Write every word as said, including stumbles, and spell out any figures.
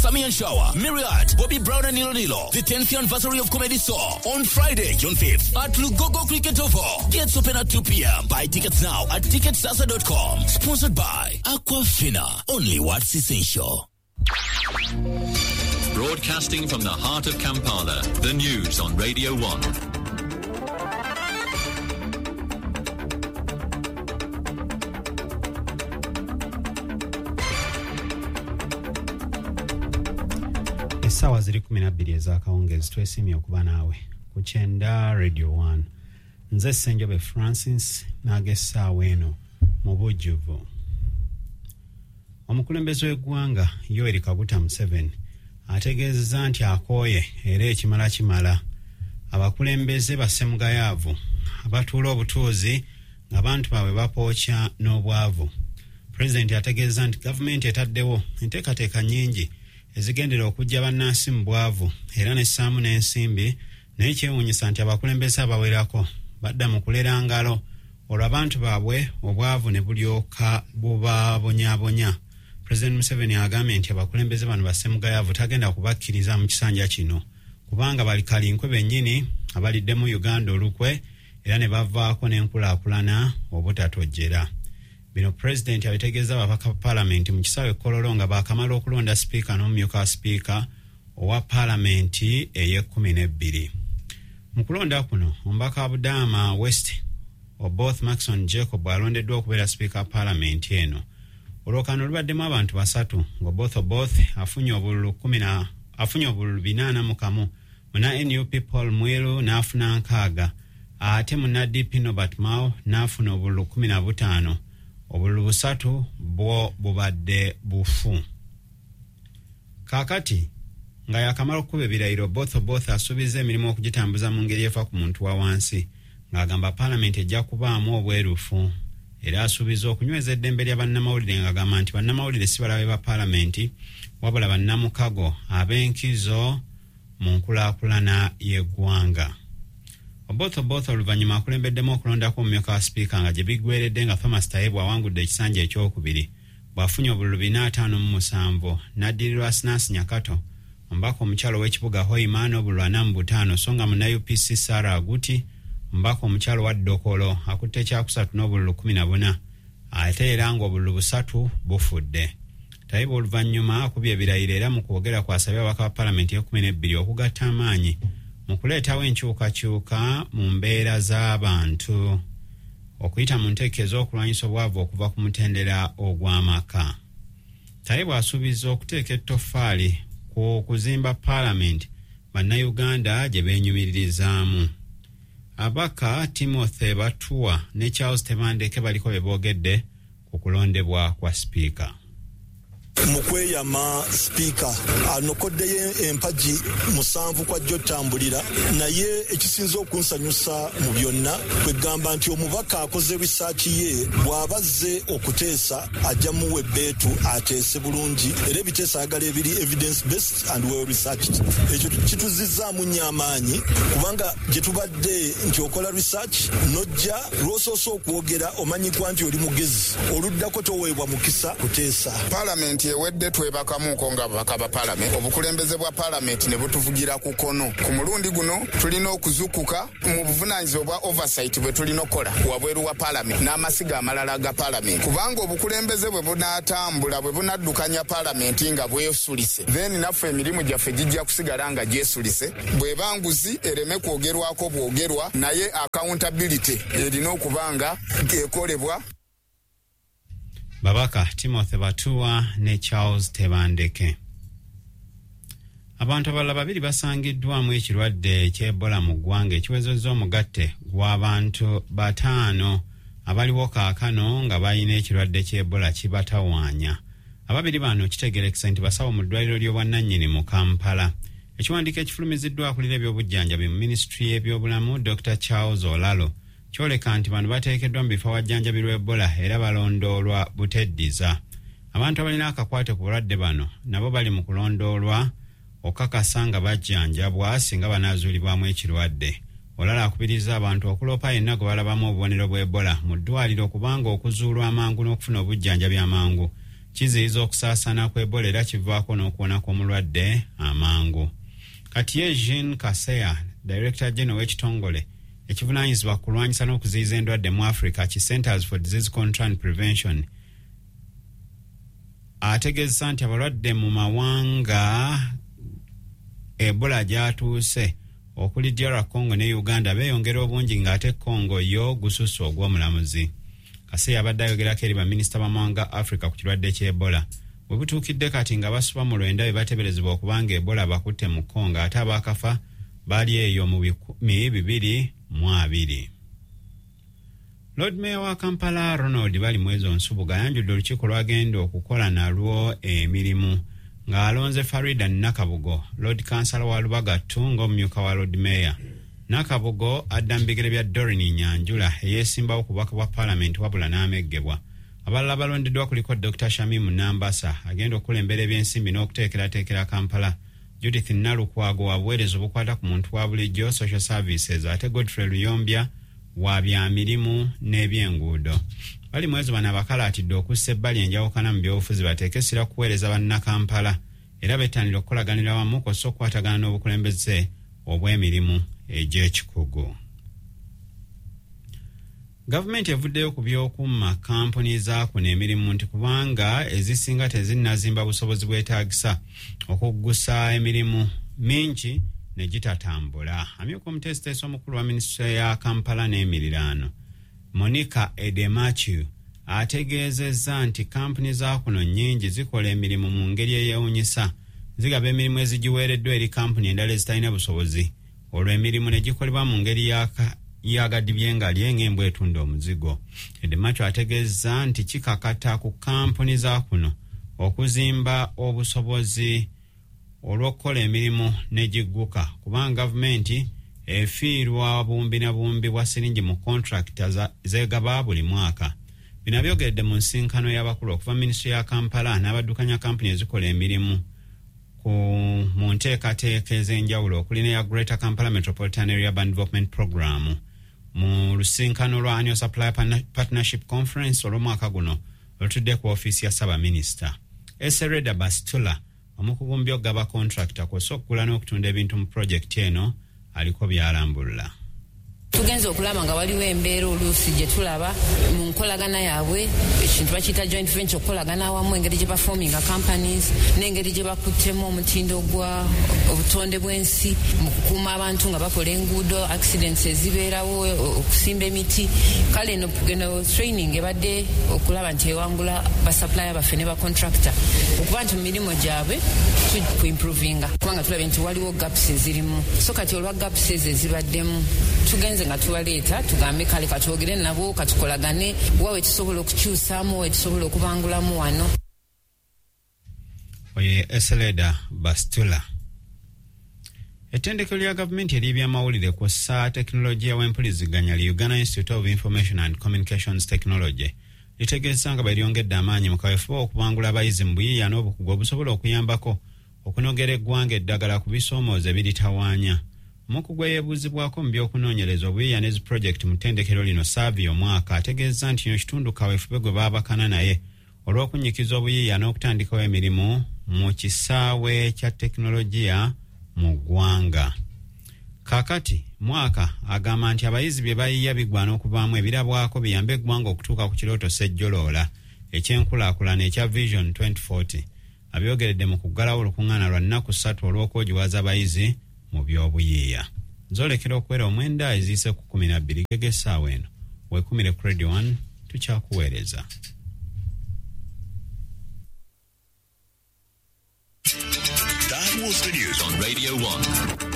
Sammy and Shower, Myriad, Bobby Brown and Nilo Nilo. The tenth anniversary of Comedy Store on Friday, June fifth at Lugogo Cricket Oval. Gates open at two p m. Buy tickets now at ticket sasa dot com. Sponsored by Aquafina. Only what's essential. Broadcasting from the heart of Kampala, the news on Radio one. Essaawa ziri kumi na bbiri ez'akawungeezi. Twesiimye okuba naawe ku kyenda Radio one. Nze Ssenjobe Francis n'ag'essaawa eno mu bujjuvu. Omukulembeze w'eggwanga Yoweri Kaguta Museveni ategeezezza nti akooye era ekimala kimala abakulembeze bassemugayaavu abatuula obutuuzi ng'abantu baabwe bapookya n'obwavu. Pulezidenti ategeeza nti gavumenti etaddewo enteekateeka nnyingi ezigendera okuggya bannansi mu bwavu era n'essaamu n'ensimbi, naye kyewuunyisa nti abakulembeze abawerako badda mu kulera ngalo, olwo abantu baabwe obwavu ne bulyoka bubabonyaabonya. Pulezidenti Museveni agambye nti abakulembeze bano bassemugayaavu tagenda kubakkiriza mu kisanja kino, kubanga bali kalinkwe bennyini abaliddemu Uganda olukwe era ne bavaako n'enkulaakulana obutatojjera. Bino pulezidenti abitegeeza ababaka ba paalamenti mu kisaawe Kololo nga baakamala okulonda sipiika n'omumyuka wa sipiika owa paalamenti ey'ekkumi n'ebbiri. Mu kulonda kuno, omubaka wa Budaama West Oboth Maxon Jacob alondeddwa okubeera sipiika wa paalamenti eno. Olwokano lubaddemu abantu basatu, ng'Oboth Oboth afunye obululu afunye obululu binaana mu kamu, muna N U P Paul Mwiru n'afuna nkaaga, ate muna D P Norbert Mao n'afuna obululu kumi na butaano. Obululu busatu bwo bubadde bufu. Kaakati nga yakamala okukuba ebirayiro, Oboth Oboth asuubiza emirimu okugitambuza mu ngeri efa ku muntu wa wansi, ng'agamba paalamenti ejja kubaamu obwerufu. Era asuubiza okunyweza eddembe lya bannamawulire, ng'agamba nti bannamawulire si balabe ba paalamenti, wabula bannamukago ab'enkizo mu nkulaakulana y'eggwanga. Oboth Oboth oluvannyuma akulembeddemu okulondako omumyuka wa sipiika, nga gye biggweredde nga Thomas Tayebwa awangudde ekisanja ekyokubiri bw'afunye obululu bina ataano mu musanvu, n'addirirwa Asinasi Nyakato, omubaka omukyalo ow'ekibuga Hoima, n'obululu ana mu butaano, so nga munna U P C Sarah Aguti, omubaka omukyalo wa Dokolo, akutte ekyakusatu n'obululu kumi na buna, ate era ng'obululu busatu bufudde. Tayebwa oluvannyuma akubye ebirayiro era mu kwogera kwasabye ababaka ba paalamenti y'ekumi n'ebbiri okugatta amaanyi mu kuleetawo enkyukakyuka mu mbeera z'abantu okuyita mu nteeka ez'okulwanyisa obwavu okuva ku mutendera ogw'amaka. Tayebwa asuubiza okuteeka ettoffaali ku kuzimba paalamenti bannayuganda gye beenyumiririzaamu. Abaka Timothy Batuwa ne Charles Tebandeke baliko bye boogedde ku kulondebwa kwa sipiika. Mu kweyama, sipiika anokoddeyo empagi musanvu kwajja otambulira, naye ekisinza okunsanyusa mu byonna kwegamba nti omubaka akoze research ye, bw'aba azze okuteesa ajja muwa ebbeetu ateese bulungi, era ebiteesa ayagala ebiri evidence based and well researched. Ekyo kituzizzaamu nnyo amaanyi, kubanga gye tubadde nti okola research n'ojja lw'osoose okwogera omanyikwa nti oli mugezi, oluddako toweebwa mukisa kuteesa. Paalamenti ewedde twebakamuuko nga ababaka ba paalamenti, obukulembeze bwa paalamenti ne butuvugira ku kono. Ku mulundi guno tulina okuzukuka mu buvunaanyizibwa bwa oversight bwe tulina okukola wabweru wa paalamenti n'amasiga amalala ga paalamenti, kubanga obukulembeze bwe bunaatambula, bwe bunaddukanya paalamenti nga bwesulise, then naffe emirimu gyaffe gijja kusigala nga gyesulise. Bw'eba nguzi ereme kwogerwako bwogerwa, naye accountability erina okuba nga ekolebwa. Babaka Timothy Batuwa ne Charles Tebandeke. Abantu abalala babiri basangiddwamu ekirwadde eky'Ebola mu ggwanga, ekiwezezza omugatte gw'abantu bataano abaliwo kaakano nga balina ekirwadde ky'Ebola kibatawaanya. Ababiri bano kitegerekesa nti basawo mu ddwaliro ly'obwannannyini mu Kampala. Ekiwandiiko ekifulumiziddwa akulira ebyobujjanjabi mu minisitule y'ebyobulamu, Doctor Charles Olalo, kyoleka nti bano bateekeddwa mu bifo awajjanjabirwa Ebola era balondoolwa buteddiza. Abantu abalina akakwate ku bulwadde bano nabo bali mu kulondoolwa okakasa nga bajjanjabwa singa banaazuulibwamu ekirwadde. Olalo akubiriza abantu okuloopa yenna gwe balabamu obubonero bw'Ebola mu ddwaliro, kubanga okuzuulwa amangu n'okufuna obujjanjabi amangu Kiziyiza okusaasaana kwa Ebola era kivaako n'okuwona kw'omulwadde amangu. Kati ye Jean Kaseya, Director General w'ekitongole ekivunaanyizibwa ku kulwanyisa n'okuziyiza endwadde mu Africa ki Centers for Disease Control and Prevention, ategeeza nti abalwadde mu mawanga Ebola gy'atuuse okuli D R Congo ne Uganda beeyongera obungi, ng'ate Congo yo gususse ogw'omulamuzi. Kaseya abadde ayogerako eri baminisita b'amawanga Africa ku kirwadde ky'Ebola. Bwe butuukidde kati nga basuba mu lwenda be bateeberezebwa okuba nga Ebola bakutte mu Congo, ate abaakafa bali eyo mu bikumi bibiri mu abiri. Lord Mayor wa Kampala Ronald Balimwezo Nsubuga ayanjudde olukiiko lw'agenda okukola nalwo emirimu ng'alonze Farida Nakabugo, Lord Kansala wa Lubaga two ng'omumyuka wa Lord Mayor. Nakabugo adda mu bigere bya Doreen Nyanjula eyeesimbawo ku bubaka bwa Paalamenti wabula n'ameggebwa. Abalala balondeddwa kuliko Doctor Shamim Nambasa agenda okukulembera ebyensimbi n'okuteekerateekera Kampala, Judith Nalukwago wa buweereza obukwata ku muntu wa bulijjo social services, ate Godfrey Luyombya wa bya mirimu n'ebyenguudo. Balimwezo bano abakalaatidde okussa ebbali enjawukana mu byobufuzi bateeke essira kuweereza bannakampala era bettanira okukolaganira wamu kw'ossa okukwatagana n'obukulembeze obw'emirimu egy'ekikugu. Gavumenti evuddeyo ku by'okumma kampuni za kuno emirimu nti kubanga ezisinga tezinnazimba busobozi bwetaagisa okuggusa emirimu mingi ne gitatambula. Amyuka omuteesiteesi omukulu wa minisitule ya Kampala n'emiriraano Monica Edemachu ategeezezza nti kampuni za kuno nnyingi zikola emirimu mu ngeri eyeewuunyisa, zigaba emirimu ezigiweereddwa eri kampuni endala ezitalina busobozi, olwo emirimu ne gikolebwa mu ngeri y'agadibye nga ng'embwa etunda omuzigo. Edemachu ategeezezza nti kikakata ku kampuni za kuno okuzimba obusobozi olw'okukola emirimu ne gigguka, kubanga gavumenti efiirwa bumbi na bumbi bwa siringi mu kontrakita zeegaba buli mwaka. Bino byogeredde mu nsinkano y'abakulu okuva minisitule ya Kampala n'abaddukanya kampuni ezikola emirimu ku mu nteekateeka ez'enjawulo okuli n'eya Greater Kampala Metropolitan Area Urban Development Program mu lusinkano lwa Annual Supply Partnership Conference olw'omwaka guno olutudde ku ofiisi ya Ssaabaminisita. Esereda Bastula, omukugu mu by'okugaba kontrakita kw'ossa okugula n'okutunda ebintu mu pulojekiti eno, aliko by'alambulula. Tugenze okulaba nga waliwo embeera oluusi gye tulaba mu nkolagana yaabwe, ekintu bakiyita joint venture, okukolagana awamu, engeri gye baforminga companies n'engeri gye bakuttemu omutindo gwa obutonde bw'ensi mu kukuuma abantu nga bakola enguudo, accidents ezibeerawo, okusimba emiti. Kale eno eno training ebadde okulaba nti ewangula basupplier baffe ne bacontractor okuba nti mu mirimu gyabwe kuimprovinga, kubanga tulabye nti waliwo gaps ezirimu. So kati olwa gaps ezo ezibaddemu tugenze nga tubaleeta tugambe kale katwogere nabo, katukolagane wawe tusobola okukyusaamu, wawe tusobola okubangulamu wano. Oye Eseleda Bastula. Ettendekero lya gavumenti ery'ebyamawulire kw'ossa tekinologiya w'empuliziganya li Uganda Institute of Information and Communications Technology litegeeza nga bwe lyongedde amaanyi mu kaweefube okubangula abayizi mu buyiiya n'obukugu obusobola okuyambako okunogera eggwanga eddagala ku bisoomooza ebiritawaanya. Omukugu eyeebuuzibwako mu by'okunoonyereza obuyiiya ne zi pulojekiti mu ttendekero lino Savio Mwaka ategeeza nti kino kitundu kaweefube gwe baabakana naye olw'okunyikiza obuyiiya n'okutandikawo emirimu mu kisaawe kya tekinologiya mu ggwanga. Kaakati Mwaka agamba nti abayizi bye bayiiya bigwana okuvaamu ebirabwako biyambe eggwanga okutuuka ku kirooto ssejjoloola eky'enkulaakulana ekya Vision twenty forty. Abyogeredde mu kuggalawo olukuŋŋaana lwa nnaku ssatu olw'okwogiwaza abayizi mu by'obuyiiya. Nzolekera okuwera omwenda eziise ku kkumi na bbiri geg'essaawa eno. Weekumire ku Radio one tukyakuweereza. That was the news on Radio one.